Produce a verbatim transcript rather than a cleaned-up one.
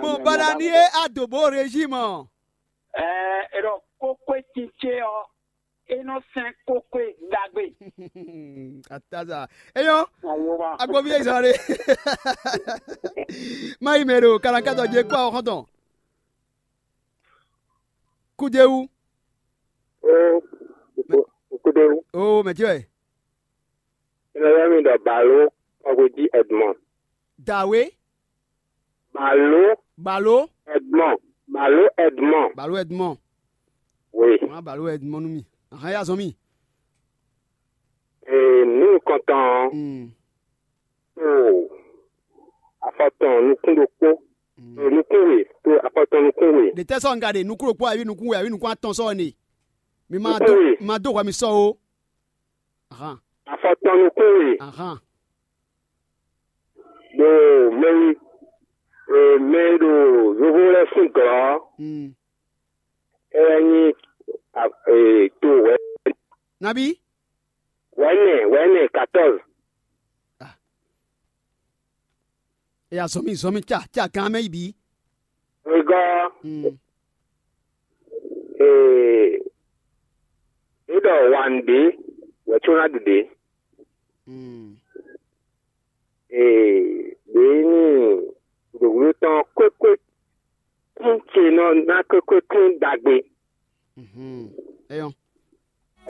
Mɔ bana ni e a do bo régime ɔ. Ɛɛ, e ɖɔ kókó e titse ɔ, e nɔ sɛn kókó e ɖagbe. Ataza. Eyɔn, Awoba. Agbovi ezan ɖe. Mayi mɛ ɖo kalankatɔ je kpɔ xɔntɔn. Kudewu. O, o, o kudewu. O mɛ tiwɛ. Ina yɛ mi ɖɔ balo, kɔgbe ji Edmond. Dawe. Balo. Balo. Edmond. Balo Edmond. Balo Edmond. Oui. Wọn balo Edmond nú mi. Ahan ya zɔn mi. Ee, nú kɔntɔn. Mm. O, afɔtɔn nukún ɖokpó. Mm. O, nukún we. To afɔtɔn nukún we. Ɖe tɛ sɔ nga ɖe nukún ɖokpó ayi nukún we ayi nukún atɔn sɔ ne. Mi ma do, ma do hwa mi sɔ o. Ahan. Afɔtɔn nukún we. Ahan. Ɖo mɛ e, e, mɛ e ɖo yovo lɛ́ɛ sín gɔ̌ ɔ́, mm, é wɛ nyí a- e, to wɛ̌. Nabi? Wɛ̌nɛ, wɛ̌nɛ, quatorze. Ah. E ya zɔn mi, zɔn mi ca, ca gán mɛ yi bǐ. Wegɔ́. Mm. Ee, é ɖɔ wan ɖě wɛ có ná ɖu ɖě. Mm. Ee, ɖě ní gǔdogbǔdo tɔn kwékwe tín ce nɔ ná kwékwe tín ɖagbe.